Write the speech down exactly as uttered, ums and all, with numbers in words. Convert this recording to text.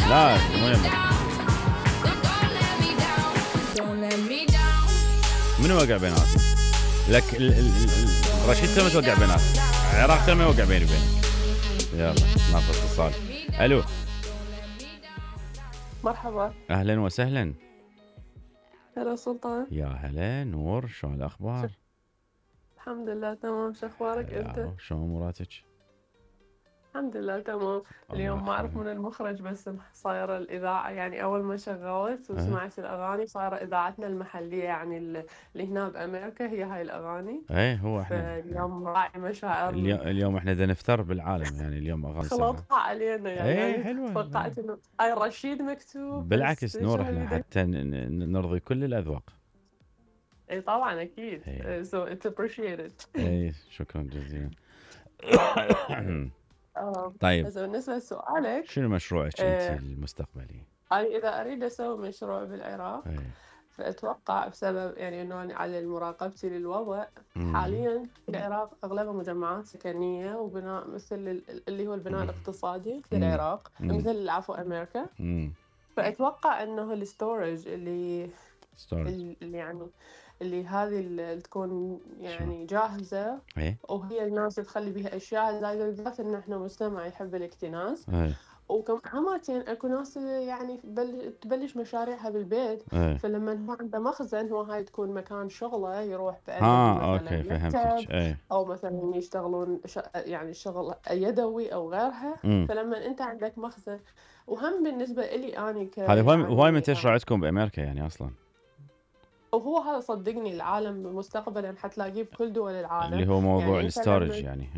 لا مو يمك. منو وقع بيناتنا؟ لك ال ال ال رشيد تم توقع بيناتنا، العراق تم يوقع بيني وبينك. يلا ناخذ اتصال. الو مرحبا. اهلا وسهلا. هلا سلطان. يا هلا نور، شلون الاخبار؟ الحمد لله تمام، شو اخبارك انت؟ شلون اموراتك؟ الحمد لله تمام. اليوم ما اعرف من المخرج بس صايره الاذاعه، يعني اول ما شغلت وسمعت الاغاني صايره اذاعتنا المحليه يعني اللي هنا بامريكا هي هاي الاغاني. ايه هو احنا اليوم راعي مشاعر اليوم, اليوم احنا بدنا نفتر بالعالم، يعني اليوم اغاني خلطها علينا يعني, ايه يعني حلوه. توقعت انه هاي رشيد مكتوب، بالعكس بس نور احنا حتى نرضي كل الاذواق. اي طبعا اكيد. ايه. so it's appreciated. ايه شكرا جزيلا. طيب بس بالنسبة لسؤالك، شنو مشروعك آه انت المستقبلي؟ أنا إذا أريد أسوي مشروع بالعراق ايه. فأتوقع بسبب يعني إنه أنا على مراقبتي للوضع حاليا في العراق أغلبها مجمعات سكنية وبناء مثل اللي هو البناء مم. الاقتصادي في مم. العراق، مم. مثل العفو أمريكا. مم. فأتوقع إنه الستورج اللي storage. اللي يعني اللي هذه اللي تكون يعني جاهزة ايه. وهي الناس تخلي بيها أشياء زايدة، بالذات إن إحنا مجتمع يحب الاكتناز. ايه. وكمان اكو ناس يعني تبلش مشاريعها بالبيت. ايه. فلما هو عنده مخزن، هو هاي تكون مكان شغله يروح بعنده اه مثلا اوكي فهمتك. ايه. او مثلا يشتغلون ش... يعني شغل يدوي او غيرها. مم. فلما انت عندك مخزن، وهم بالنسبه لي اني ك هذا هواي يعني هواي منتشر عندكم بامريكا يعني اصلا. وهو هذا صدقني العالم مستقبلا حتلاقيه بكل دول العالم، اللي هو موضوع يعني الستورج يعني.